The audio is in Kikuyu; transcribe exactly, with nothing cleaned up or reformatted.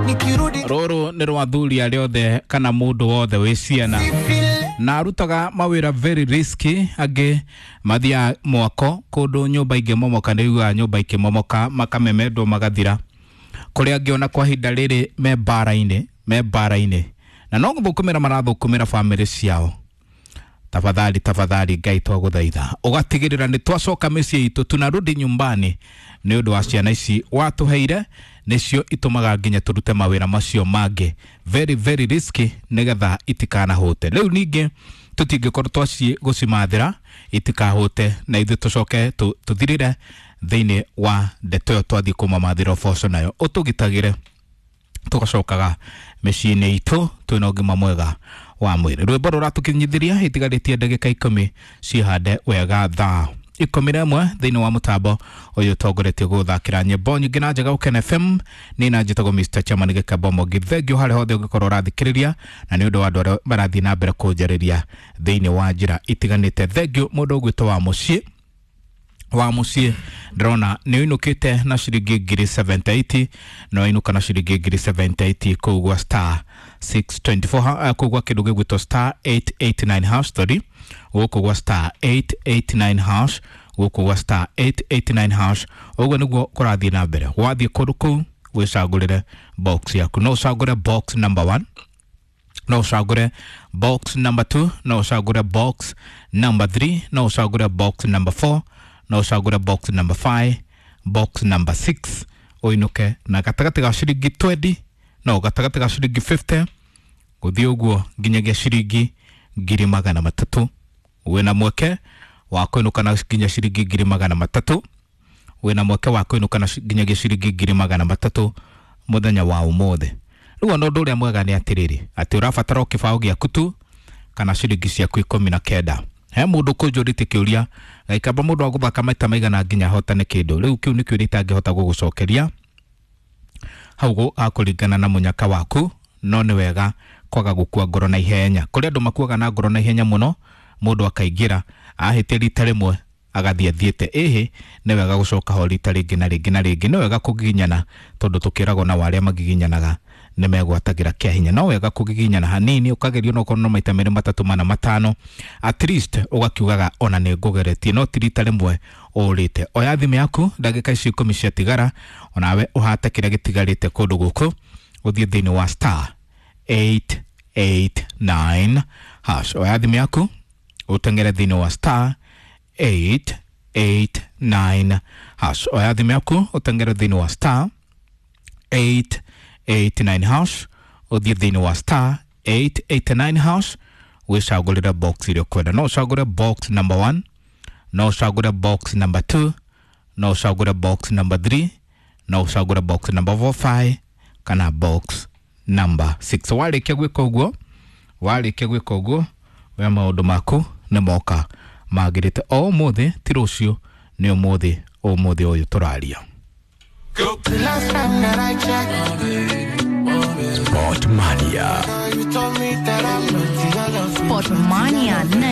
Nikirudi Rũrũ nĩ rwa athuri arĩa othe kana mũndũ wothe wĩ ciana na arutaga mawĩra very risky. Angĩ mathiaga mwako kũndũ nyũmba ingĩmomoka, nĩ ugaga nyũmba ikĩmomoka makamemendwo magathira. Kũrĩa angĩ ona kwa ihinda rĩrĩ me mbara-inĩ, me mbara-inĩ na no gũthũkũmĩra marathũkũmĩra bamĩrĩ ciao. Tafadhali, tafadhali, Ngai twagũthaitha ũgatigĩrĩra nĩ twacoka mĩciĩ itũ, tunarudi nyumbani nĩ ũndũ wa ciana ici watũheire, nĩcio itũmaga nginya tũrute mawĩra macio mangĩ very very risky nĩgetha itikanahũte. Rĩu ningĩ tũtingĩkorwo twaciĩ gũcimathĩra itikahũte na ithuĩ tũcoke tũ- tũthirĩre thĩinĩ wa ndeto ĩyo twathiĩ kũmamathĩra ũboco nayo. Ũtũgitagĩre tũgacokaga mĩciĩ-inĩ itũ twĩna ũgima mwega wa mwĩrĩ. Rwĩmbo rũratũkinyithĩria itigarĩtie ndagĩka ikũmi cihande wega thaa ikũmi na ĩmwe thĩinĩ wa mũtambo ũyũ ũtongoretie gũthakĩra nyĩmbo nyingĩ na njega Ũkene F M. Nĩ na njĩtagwo Mister Chairman Gĩkembo Mũngi. Thengiũ harĩa hothe ũngĩkorwo ũrathikĩrĩria na nĩ ũndũ wa andũ arĩa marathiĩ na mbere kũnjarĩria thĩinĩ wa njĩra itiganĩte. Thengiũ mũndũ ũgwĩtwo wa mũciĩ wa mũciĩ, ndĩrona nĩ ũinũkĩte na ciringi ngiri mĩrongo mũgwanja na nyanya, na wainũka na ciringi ngiri mĩrongo mũgwanja na nyanya kũu gwa star six two four, ha- kũu gwa kĩndũ gĩgwĩtwo star eight eight nine hash, sorry, gũkũ gwa star eight eight nine hash, gũkũ gwa star eight eight nine hash. Ũguo nĩguo kũrathiĩ na mbere. Wathiĩ kũndũ kũu wĩcagũrĩre box yaku, no ũcagũre box number one, no ũcagũre box number two, no ũcagũre box number three, no ũcagũre box number four, no ũcagũre box number five, box number six, ũinũke na gatagatĩ ga ciringi mĩrongo ĩĩrĩ, no gatagatĩ ga ciringi mĩrongo ĩtano gũthiĩ ũguo nginyagia ciringi ngiri magana matatũ. Wĩna mweke wa kũinũka na nginya ciringi ngiri magana matatũ, wĩna mweke wa kũinũka na ci- nginyagia ciringi ngiri magana matatũ mũthenya wa ũmũthĩ. Rĩu ona ũndũ ũrĩa mwega nĩ atĩrĩrĩ, atĩ ũrabatara o kĩbaũ gĩaku tu kana ciringi ciaku ikũmi na kenda. He mũndũ kũnjũrĩtie kĩũria gaikamba mũndũ wa gũthaka maita maigana nginya ahotane kĩndũ. Rĩu kĩu nĩ kĩũria itangĩhota gũgũcokeria hau, gũ- hakũringana na mũnyaka waku, no nĩ wega kwaga gũkua ngoro na ihenya. Kũrĩ andũ makuaga na ngoro na ihenya mũno, mũndũ akaingĩra ahĩtia rita rĩmwe agathiĩ athiĩte. Ĩhĩ, nĩ wega gũcoka ho rita rĩngĩ na rĩngĩ na rĩngĩ. Nĩ wega kũgiginyana tondũ tũkĩragwo na arĩa magiginyanaga nĩ megwatagĩra kĩa hinya. No wega kũgiginyana hanini, ũkagerio no korwo no maita merĩ, matatũ, mana, matano, at least ũgakiugaga ona nĩ ngũgeretie, no ti rita rĩmwe ũrĩte. Oya thimũ yaku ndagĩka ici ikũmi ciatigara, onawe ũhate kĩrĩa gĩtigarĩte kũndũ gũkũ, ũthiĩ thĩinĩ wa star eight eight nine hash. Oya thimũ yaku ũteng'ere thĩinĩ wa star eight eight nine hash. Oya thimũ yaku ũteng'ere thĩinĩ wa star eight eight nine hash, ũthiĩ thĩinĩ wa star eight eight nine hash, wĩcagũrĩre box ĩrĩa ũkwenda. No ũcagũre box number one, no ũcagũre box number two, no ũcagũre box number three, no ũcagũre box number four, five kana box number six. Warĩkia gwĩka ũguo, warĩkia gwĩka ũguo, we maũndũ maku nĩ moka magĩrĩte o ũmũthĩ, ti rũciũ, nĩ ũmũthĩ, ũmũthĩ ũyũ tũraria. The last time that I checked, Sport Mania. you told me that I'm not your love. Sport Mania nine.